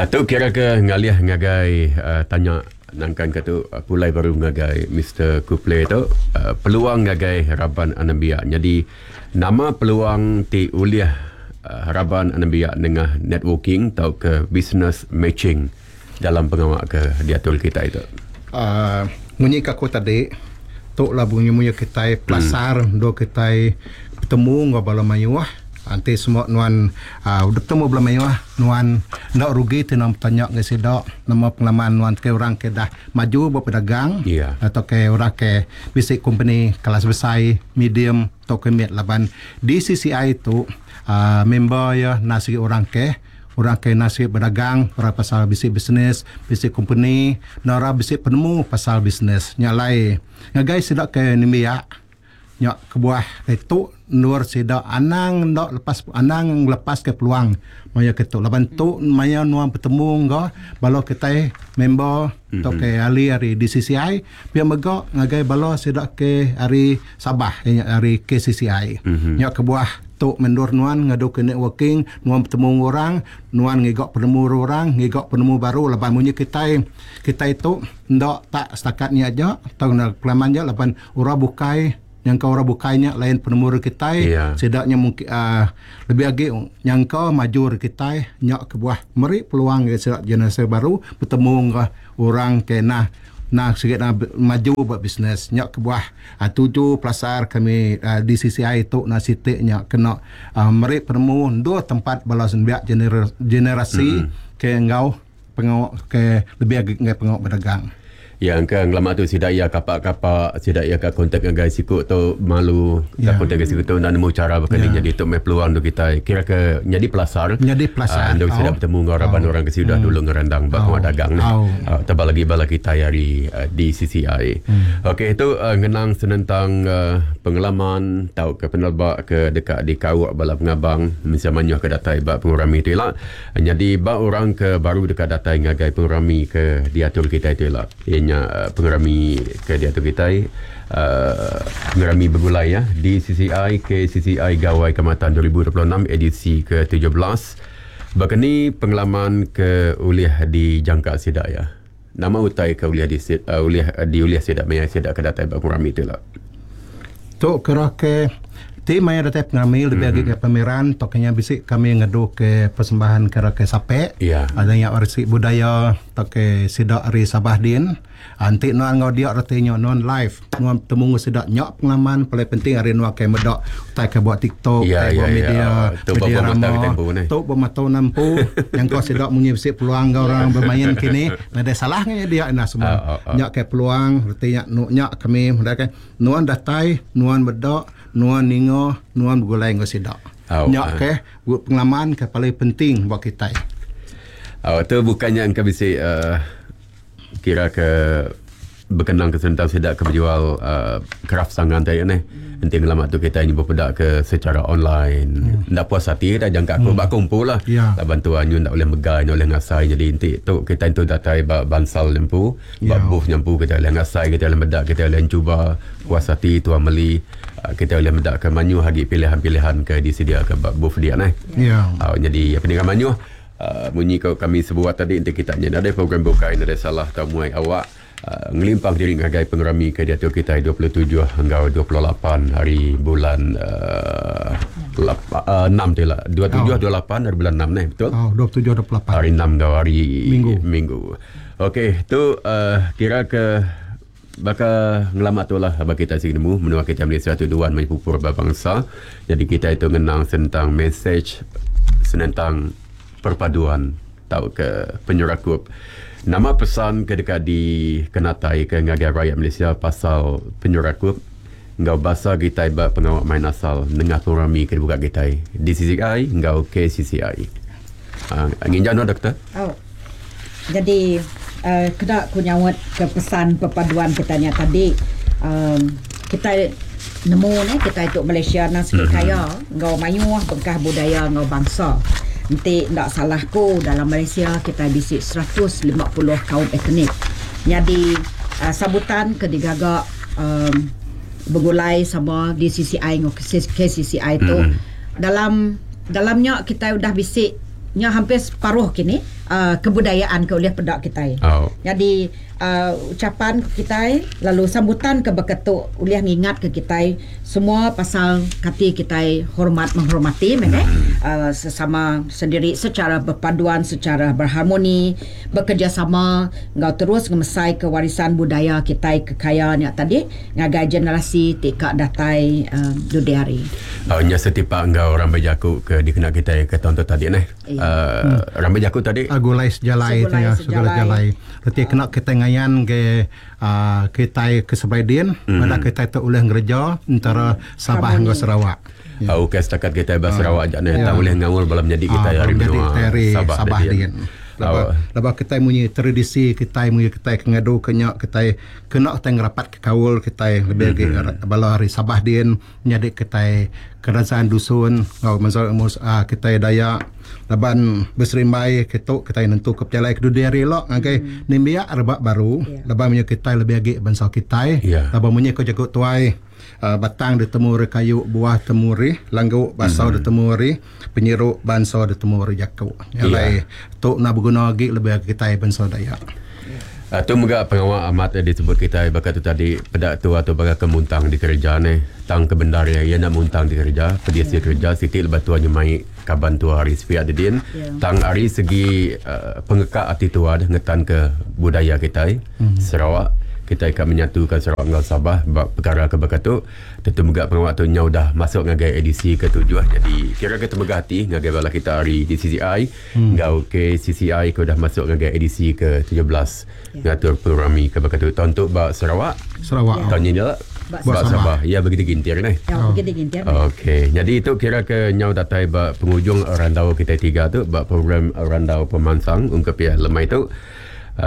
Tu kira ke ngalih ngagai tanya nangkan ke tu pulai baru ngagai Mister Kupley tu peluang ngagai raban anembiak. Nyadi nama peluang ti ulih raban anembiak nengah networking tauka business matching dalam pengawa ke diatur kitai tu? Munyi ke aku tadi tu lah bunyi-munyi kitai pelasar endur kitai betemu enggau bala mayuh. Enti semua nuan udah betemu bala mayuh nuan enda rugi ti nuan betanya ngagai sida nama pengalaman nuan ke orang ke dah maju ba pedagang atau ke orang ke bisi kompeni kelas besai, medium tauka mit laban DCCI tu member iya enda sigi orang ke Orang ke nasib bedagang, orang pasal bisi bisnes, bisi kompeni, enggau orang bisi penemu pasal bisnes. Nya alai ngagai sida ke nembiak nya kebuah ditu endur sida anang enda lepas anang ngelepaska peluang maya ke tu laban tu maya nuan betemu enggau bala kitai member tauka ahli ari DCCI pia mega ngagai bala sida ke ari Sabah iya nya ari KCCI. Nya kebuah tu meh endur nuan ngaduka networking, nuan betemu enggau orang, nuan ngiga penemu ari orang, ngiga penemu baru laban munyi kitai, kitai tu enda tak setakat nya aja tau enda pengalaman aja laban orang bukai nyangka orang bukai nya lain penemu ari kitai, sida nya mungkin uhh lebih agi nyangka maju ari kitai nya kebuah meri peluang ngagai sida generasi baru betemu enggau orang ke nah Nah sigi nah maju ba bisnes nya kebuah tuju pelasar kami DCCI tu nah siti nya kena meri penemu endur tempat bala nembiak generasi ke enggau pengawa ke lebih agi ngagai pengawa bedagang. Ya engka ngelama tu sida iya kapak kapak sida iya ka kontak ngagai siku tu malu ka kontak ngagai siku tu enda nemu chara baka ni nyadi tu meh peluang tu kitai kira ke nyadi pelasar nyadi pelasar endur sida betemu enggau raban orang ke sida dulu ngerandang ba pengawa dagang neh. Tebal agi bala kitai ari DCCI. Okey tu ngenang senentang pengalaman tauka peneleba ke deka dikauk bala pengabang mensia mayuh ke datai ba pengerami tu ila. Nyadi ba orang ke baru deka datai ngagai pengerami ke diatur kitai tu ila iya nya pengerami ke diatur kitai uhh pengerami begulai ya DCCI KCCI Gawai Kaamatan 2026 edisi ke 17. Baka ni pengalaman ke ulih dijangka sida iya? Nama utai ke ulih di ulih diulih sida maya sida ke datai ba pengerami tu ila? Tu kira ke ti maya datai pengerami lebih agi ke pameran tauka nya bisi kami ngedu ke persembahan kira ke sape ada nya resi budaya tauka sida ari Sabah din. Enti nuan enggau dia reti nya nuan live nuan betemu enggau sida nya pengalaman paling penting ari nuan ke meda utai ke ba tiktok utai ba media media rama tu ba mata nuan empu nyangka sida munyi bisi peluang enggau orang bemain kini nadai salah ngagai dia ina semua nya ke peluang reti nya nya kami meda ke nuan datai nuan meda nuan ninga nuan begulai enggau sida nya ke pengalaman ke paling penting ba kitai. Tu bukan nya engka bisi uhh. Kira ke bekenang ke senentang sida ke bejual uhh kraf tangan ti neh. Enti ngelama tu kitai nyebut peda ke secara online enda puas ati dah jangka aku ba aku empu lah. Laban tu anyu enda ulih megai enda ulih ngasai jadi enti tu kitai entu datai ba bansal nya empu ba booth nya empu kitai ulih ngasai kitai ulih meda kitai ulih enchuba puas ati tuan meli kitai ulih meda ke mayuh agi pilihan-pilihan ke disediaka ba booth dia neh. Nyadi peninga mayuh. Munyi ko kami sebuat tadi enti kita nya nadai program bukai nadai salah tau muai awak ngelimpang diri ngagai pengerami ke diatur kitai 27 enggau 28 hari bulan enam tu ila 27 28 hari bulan enam neh betul? Oh 27 28. Hari enam enggau hari Minggu. Minggu. Okey tu kira ke baka ngelama tu lah bagi kitai sigi nemu menua kitai Malaysia tu duan meh pupur ba bangsa. Jadi kitai tu ngenang senentang mesej senentang perpaduan tauka penyerakup. Nama pesan ke deka dikenataika ngagai rayat Malaysia pasal penyerakup enggau basa kitai ba pengawa main asal nengah pengerami ke dibuka kitai DCCI enggau KCCI. Aaa nginjau nuan doktor. Au. Jadi uhh kena ku nyaut ke pesan perpaduan kita nya tadi uhh kitai nemu neh kitai tu Malaysia nang sigi kaya enggau mayuh bengkah budaya enggau bangsa. Enti enda salah ku dalam Malaysia kitai bisi 150 kaum etnik. Nyadi uhh sambutan ke digaga uhh begulai sama DCCI enggau KCCI tu dalam dalam nya kitai udah bisi nya hampir separuh kini. Kebudayaan ke ulih peda kitai. Oh. Nyadi ucapan kitai lalu sambutan ke baka tu ulih ngingat ke kitai semua pasal kati kitai hormat menghormati meh deh sesama sendiri secara berpaduan secara berharmoni bekerjasama enggau terus ngemesai ke warisan budaya kitai ke kaya nya tadi ngagai generasi ti ka datai dudi hari. Nya setipak enggau rambai jaku ke dikena kitai ke taun tu tadi neh. Uh, rambai jaku tadi. Gulai sejalai tu ya, segulai sejalai. Reti kena kita ngayan ke uh, kita ke seberai din, mm. pada kita tu ulih ngereja antara Sabah enggau Sarawak. Ya. Oh, okay, setakat kita ba Sarawak aja ni, tak boleh ngaul bala menyadi kita hari menua Sabah, Sabah din. Laba, laba kita munyi tradisi kita munyi kita ke ngadu ke nya kita kena kita ngerapat ke kaul kita lebih lagi bala hari Sabah din. Nyadi kitai Kadazan Dusun enggau Menzau Emus kitai Dayak laban beserimbai kitu kitai nentuka pejalai ke dudi hari ila ngagai nembiak rebak baru laban munyi kitai lebih agi bansa kitai laban munyi ko jaku tuai batang ditemu ari kayu buah temu ari langgu basa ditemu ari penyiru bansa ditemu ari jaku. Nya alai tu enda beguna agi lebih agi kitai bansa Dayak. Tu mega pengawa amat disebut kitai baka tu tadi peda tua tu baka ke muntang dikereja neh. Tang ke bendar iya, iya enda muntang dikereja. Pedis iya kereja siti lebuh tua nyemai kaban tua ari sepiak didin. Tang ari segi pengeka ati tua deh ngetan ke budaya kitai Sarawak. Kitai ka menyatuka Sarawak enggau Sabah ba pekara ke baka tu. Tentu mega pengawa tu nyau udah masuk ngagai edisi ke tujuh nyadi kira ke temegah ati ngagai bala kita ari DCCI enggau KCCI ke udah masuk ngagai edisi ke 17 ngatur pengerami ke baka tu taun tu ba Sarawak. Sarawak. Taun nyin ila ba Sabah. Ya begitu gintir neh. Ya begitu gintir. Okey. Nyadi tu kira ke nyau datai ba pengujung randau kitai tiga tu ba program Randau Pemansang ungkup iya lemai tu.